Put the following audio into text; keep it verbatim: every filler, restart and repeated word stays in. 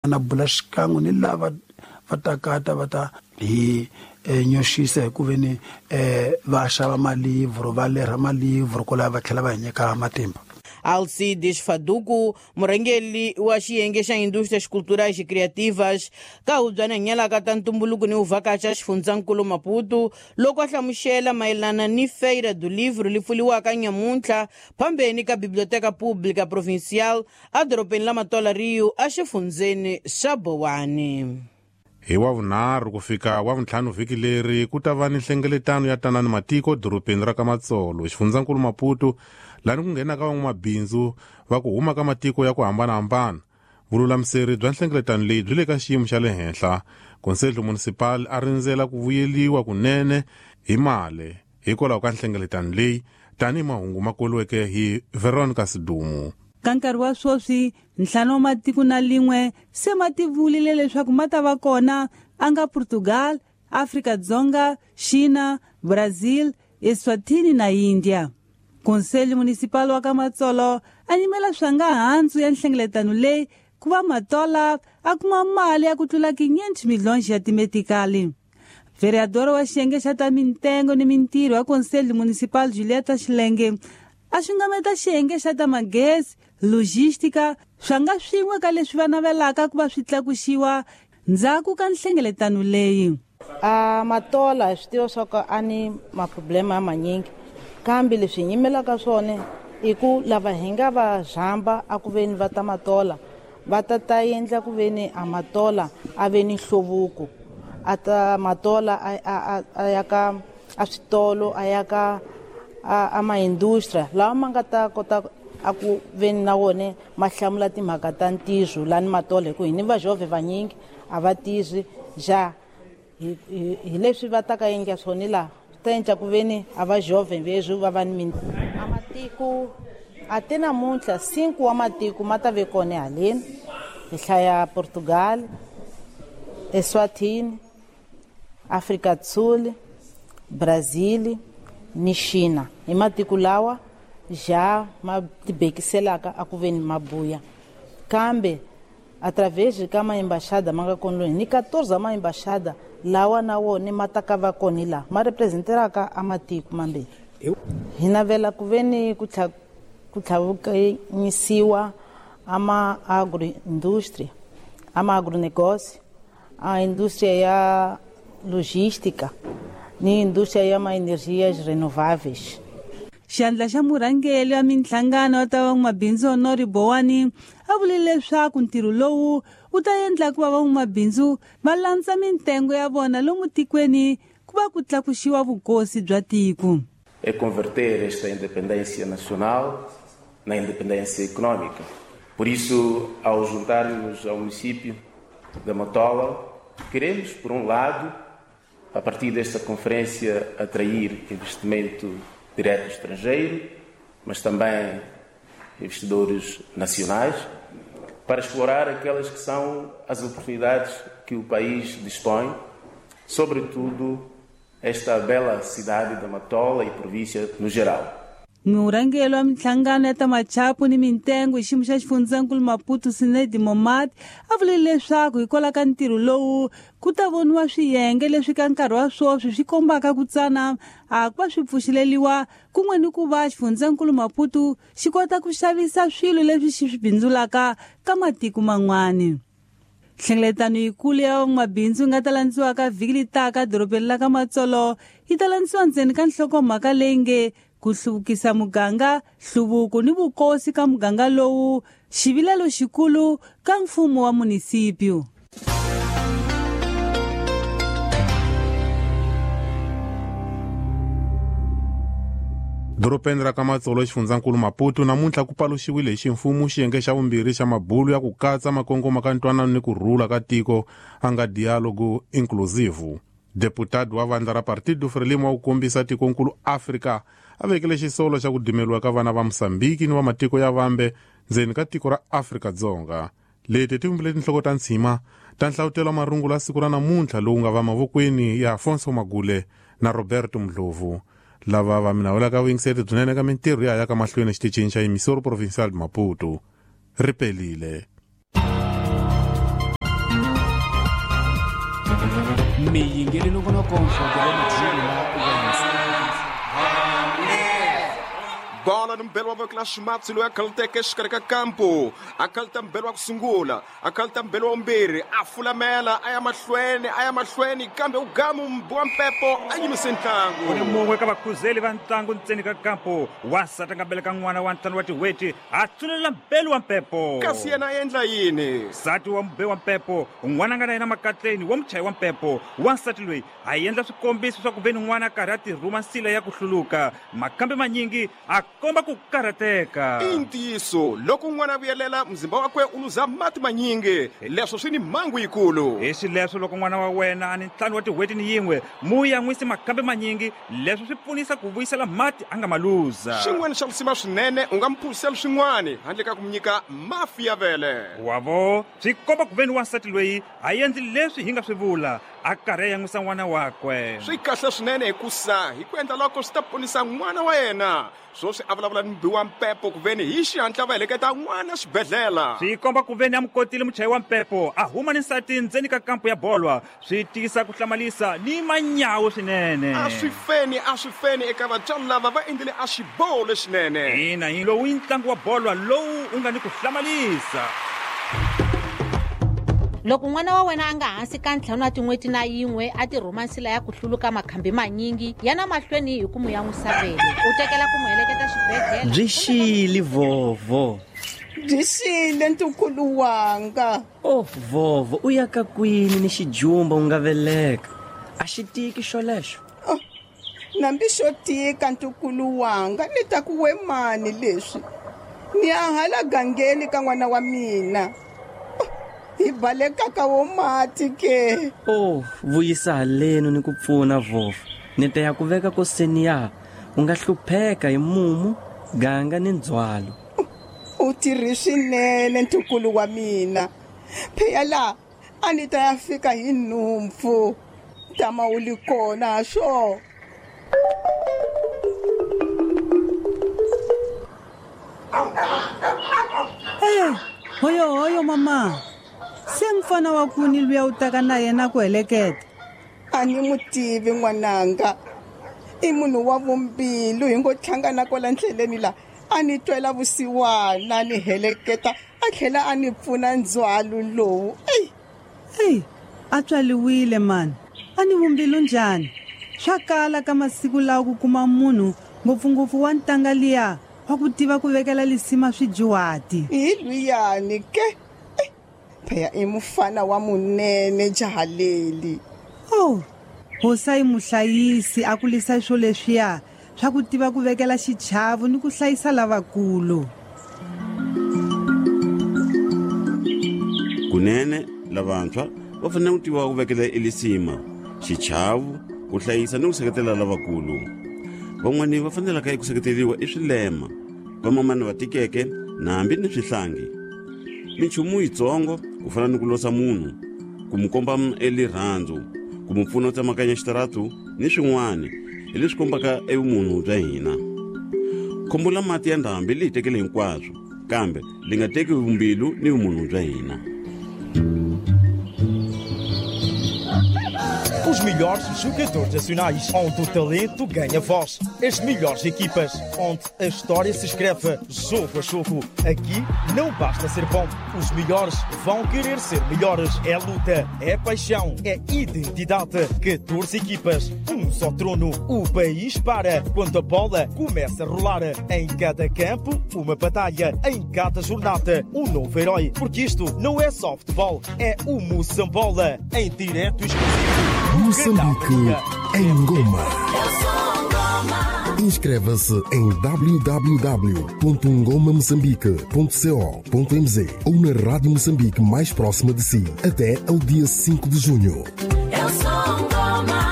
Na bula xikan'we ni lava va takata va ta hi nyoxisa hi ku veni va xava malivhro va lerha malivhro kwalaho va tlhela va hi nyika matimba. Alcides Faduku, murhangeri wa xiyenge xa Indústrias Culturais e Criativas ka hubyana nyalaka ta ntumbuluko ni uvhakacha xifundzankulu Maputo, loko a hlamusela mayelana ni Feira do Livro li pfuliwaka nyamuntlha phambeni ka Biblioteca Pública Provincial edorobeni la Matola Rio exifundzeni xa Bowani. Hi wa vunharhu ku fika wa vuntlhanu vhiki leri ku ta va ni nhlengeletano ya tanani matiko dorobeni ra ka Matsolo xifundzankulu Maputo, lani ku nghenaka van'wamabindzu va ku huma ka matiko ya ku hambanahambana. Vululamiseri bya nhlengeletano leyi byi le ka xiyimo xa le henhla. Conselho Municipal a rindzela ku vuyeliwa kunene hi mali hikwalaho ka nhlengeletano leyi, tanihi mahungu ma koliweke hi Veronica Sidumu. Ka nkarhi wa sweswi ntlhanu wa matiko na lin'we se ma tivulile leswaku ma ta va kona a nga Portugal, Afrika-Dzonga, China, Brazil, Eswatini na India. Conselho Municipal wa ka Matsolo a nyimela swa nga handzu ya nhlengeletano leyi ku va Matola a kuma mali ya ku tlula quinhentos milhões ya timetikali. Vereador wa xiyenge xa ta mintengo ni mintirho ya Conselho Municipal Julieta Xilenge a xungameta xiyenge xa ta magezi, logística, swa nga swin'we ka leswi va navelaka ku va swi tlakuxiwa ndzhaku ka nhlengeletano leyi. A Matola hi swi tiva swa ku a ni maproblema ya manyingi, kambe leswi hi nyimelaka swona i ku lava hi nga va zhamba a ku veni va ta Matola va ta ta endla ku veni a Matola a ve ni nhluvuko, a ta Matola a a a ya ka a switolo a ya ka a maindustria lawa ma nga ta kota a ku veni na wona ma hlamula timhaka ta ntirho lani Matola, hi ku hi ni vajove vanyingi a va tirhi ja hi hi leswi va ta ka endla swona laha swi ta endla ku veni a va jove veswi va va ni a matiko a te namuntlha cinco wa matiko ma ta ve kona haleni hi hlaya Portugal, Eswatini, Afrika do Sul, Brazil ni China. Hi matiko lawa ja ma tibekiselaka a ku veni mabuya, kambe através ka maembaxada ma nga kona ni quatorze maembaxada lawa na wona ma ta ka va kona la ma representeraka a matiko mambirhi. Hi navela ku veni ku tlha ku tlhavukanyisiwa a ma agroindústria, a ma agronegócio, a indústria ya logística ni indústria ya ma energias renováveis. Xandla xa murhangeri wa minhlangano wa ta van'wamabindzu Honori Bowani a vule leswaku ntirho lowu wu ta endla ku va van'wamabindzu va landza mintengo ya vona lomu tikweni ku va ku tlakuxiwa vukosi bya tiko. É converter esta independência nacional na independência económica. Por isso, ao juntar-nos ao município da Matola, queremos, por um lado, a partir desta conferência, atrair investimento direto estrangeiro, mas também investidores nacionais, para explorar aquelas que são as oportunidades que o país dispõe, sobretudo esta bela cidade da Matola e província no geral. Murhangeri wa minhlangano ya ta machapu ni mintengo hi xiyimo xa xifundzankulu Maputo Sinedi Momad a vule leswaku hikwalaho ka ntirho lowu ku ta voniwa swiyenge leswi ka nkarhi wa sweswi swi kombaka ku tsana a ku va swi pfuxeleriwa kun'we ni ku va xifundzankulu Maputo xi kota ku xavisa swilo leswi xi swi bindzulaka ka matiko man'wani. Nhlengeletano yikulu ya van'wamabindzu yi nga ta landziwaka vhiki leri taka dorobeni la ka Matsolo yi ta landziwa ndzeni ka nhlokomhaka leyi nge ku hluvukisa muganga, nhluvuko ni vukosi ka muganga lowu, xivilelo xikulu ka mfumo wa munisipio. Dorobeni ra ka Matsolo xifundzankulu Maputo namuntlha ku paluxiwile hi ximfumo xiyenge xa vumbirhi xa mabulu ya ku katsa makongoma ka ntwanano ni ku rhula ka tiko a nga dialogo inclusive. Deputado wa vandla ra Partido Frelimo wa ku kombisa tikonkulu Afrika a vekele xisolo xa ku dimeliwa ka vana va Mosambiki ni va matiko ya vambe ndzeni ka tiko ra Afrika-Dzonga. Leti ti vumbile tinhloko ta ntshima ta nhlavutelo wa marungulo ya siku ra namuntlha lowu nga va mavokweni ya Afonso Magule na Roberto Mdlovu, lava va mina vulaka vuyingiseri byinene ka mintirho ya ya ka mahlweni exitichini xa Emissora Provincial de Maputo. Ri pelile. Yimile nongonoko wa Bola ni mbelo wa voko la ximatsi loyi a khaluteke exikarhi ka kampo a khaluta mbelo wa ku sungula a khaluta mbelo wa vumbirhi a fulamela a ya mahlweni a ya mahlweni kambe u gamu wa mpepo a yimise ntlangu u ni mun'we ka vakhuzeli va ntlangu ntseni ka kampo wansati a nga beleka n'wana wa ntlhanu wa tin'hweti a tsulela mbelo wa mpepo kasi yena a endla yini nsati wa mube wa mpepo n'wana a nga na yena makatleni wa muchayi wa mpepo wansati loyi a endla swikombiso swa ku ve ni n'wana a karhi a tirhuma nsila ya ku hluluka makambe manyingi a komba ku karhateka i ntiyiso loko n'wana a vuyelela mzimba wakwe u luza mati manyingi leswo swi ni mhangu yikulu hi xileswo loko n'wana wa wena a ni ntlhanu wa tin'hweti ni yin'we mu yan'wisi makambe manyingi leswo swi pfunisa ku vuyisela mati a nga ma luza xin'wana xa lisima swinene u nga mu phuzisela swin'wana handle ka ku mu nyika mafi ya vele wavo swi komba ku ve ni wansati loyi a endli leswi hi nga swi vula a karhi a yan'wisa n'wana wakwe swi kahle swinene hikusa hi ku endla loko swi ta ponisa n'wana wa yena swoswi a vulavula ni mubi wa mpepo ku veni hi xihatla va heleketa n'wana xibedhlele swi komba ku veni a mu kotile muchayi wa mpepo a huma ni nsati ndzeni ka kampo ya bolwa swi tiyisa ku hlamalisa ni manyawu swinene a swi feni a swi feni eka vatswari lava va endlile a xiboho lexinene ina hi lowu i ntlangu wa bolwa lowu u nga ni ku hlamalisa Loko n'wana wa wena a nga hansi ka ntlhanu wa tin'hweti na yin'we a tirhuma nsila ya ku hluluka makhambi manyingi yana mahlweni hi ku mu yan'wisa vele u tekela ku mu heleketa xibedhlele byi xile vovo byi xile ntukulu wanga oh vovo u ya ka kwini ni xijumba u nga veleka a xi tiki xolexo oh, nambi xo tika ntukulu wanga ni ta ku we mani leswi ni ya hala gangeni ka n'wana wa mina hi baleka ka wo mati ke oh vuyisa haleno ni ku pfuna vovo ni ta ya ku veka koseni ya u nga hlupheka hi mumu ganga ni ndzhwalo u tirhi swinene ntukulu wa mina pheya la a ni ta ya fika hi nhumpfu tama u li kona swo Eh, hoyo hoyo mama se mfana wa kuni luya u taka na yena ku heleketa a ni mu tivi n'wananga i munhu wa vumbilu hi ngo hlangana kwala ndleleni la a ni twela vusiwana ni heleketa a tlhela a ni pfuna ndzhwalo lowu eyi eyi a tswaliwile mani a ni vumbilu njhani swa kala ka masiku lawa ku kuma munhu ngopfungopfu wa ntanga liya wa ku tiva ku vekela lisima swijuwati hi luyani ke pheya i mufana wa munene jahaleli oh hosa i muhlayisi a kulisa swo leswiya swa ku tiva ku vekela xichavo ni ku hlayisa lavakulu kunene lavantshwa va fanele ku tiva ku vekela elisima xichavo ku hlayisa ni ku seketela lavakulu van'wani va fanelaka eku seketeriwa i swilema vamamani va tikeke na hambi ni swihlangi minchumu yitsongo ku fana ni ku losa munhu ku mu komba elirhandzu ku mu pfuna u tsemakanya xitaratu ni swin'wana hi leswi kombaka evumunhu bya hina khombo la mati ya ndhambi li hi tekele hinkwaswo kambe li nga teki vumbilu ni vumunhu bya hina Os melhores jogadores nacionais, onde o talento ganha voz. As melhores equipas, onde a história se escreve jogo a jogo. Aqui não basta ser bom, os melhores vão querer ser melhores. É luta, é paixão, é identidade. catorze equipas, um só trono. O país para quando a bola começa a rolar. Em cada campo, uma batalha. Em cada jornada, um novo herói. Porque isto não é só futebol, é o Moçambola. Em direto exclusivo. Moçambique em Goma. Inscreva-se em w w w ponto ngoma moçambique ponto co ponto m z ou na Rádio Moçambique mais próxima de si até ao dia cinco de junho. Eu sou Ngoma.